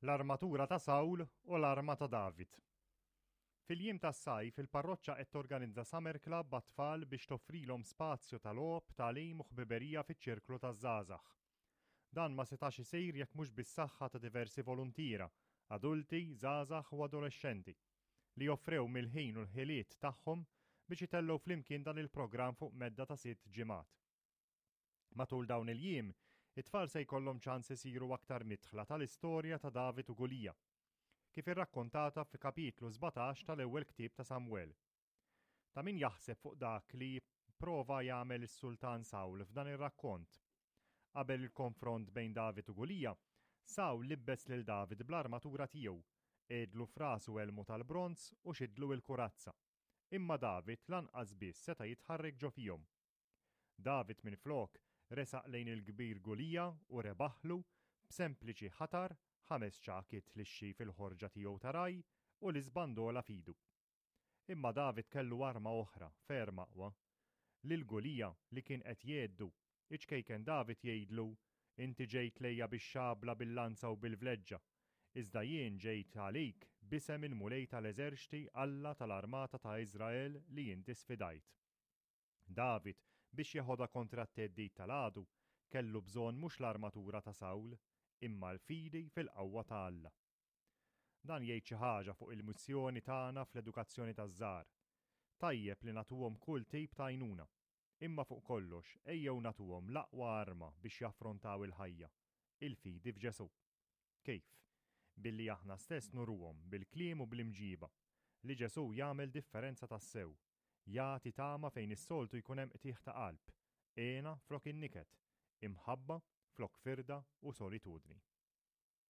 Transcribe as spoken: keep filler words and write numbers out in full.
L-armatura ta' Sawl u l-arma ta' David. Fil-jiem tas-sajf il-parroċċa qed torganizza Summer Club għat-tfal biex toffrilhom spazju ta' logħob, tagħlim u ħbiberija fiċ-ċirklu taż-żgħażagħ. Dan ma setax isir jekk mhux bis-saħħa ta' diversi voluntiera, adulti, żgħażagħ u adolexxenti, li offrew mill-ħin u l-ħiliet tagħhom biex itellgħu flimkien dan il-programm fuq medda ta' sitt ġimgħat. Matul dawn il-jiem, it-tfal se jkollhom ċans isiru aktar midħla tal-istorja ta' David u Gulija, kif irrakkontata fi kapitlu sbatax tal-ewwel ktieb ta' Samuel. Ta' min jaħseb fuq dak li prova jagħmel is-sultan Sawl f'dan ir-rakkont. Qabel il-konfront bejn David u Gulija, Sawl libbes lil David bl-armatura tiegħu, għedlu f'rasu elmu tal-bronz u xidlu l-kurazza. Imma David lanqas biss seta' jitħarrek ġo fihom. David minflok resaq lejn il-kbir Gulija u rebaħlu b'sempliċi ħatar, ħames ċagħkiet lixxi fil-ħorġa tiegħu ta' raj u l-iżbandola f'idu. Imma David kellu arma oħra ferm aqwa. Lil Gulija li kien qed jgħeddu, iċ-ċkejken David jgħidlu, "Inti ġejt lejja bix-xabla, bil-lanza u bil-vleġġa, iżda jien ġejt għalik b'isem il-Mulej tal-eżerċti, Alla tal-armata ta' Iżrael li inti sfidajt." David, biex jeħodha kontra t-theddid tal-għadu, kellu bżonn mhux l-armatura ta' Sawl, imma l-fidi fil-qawwa ta' Alla. Dan jgħid xi ħaġa fuq il-missjoni tagħna fl-edukazzjoni taż-żgħar. Tajjeb li nagħtuhom kull tip ta' għajnuna, imma fuq kollox ejjew nagħtuhom l-aqwa arma biex jaffrontaw il-ħajja, il-fidi f'Ġesù. Kif? Billi aħna stess nuruhom bil-kliem u bl-imġiba li Ġesù jagħmel differenza tassew, jagħti tama fejn is-soltu jkun hemm qtigħ ta' qalb, hena flok in-niket, imħabba flok firda u solitudni.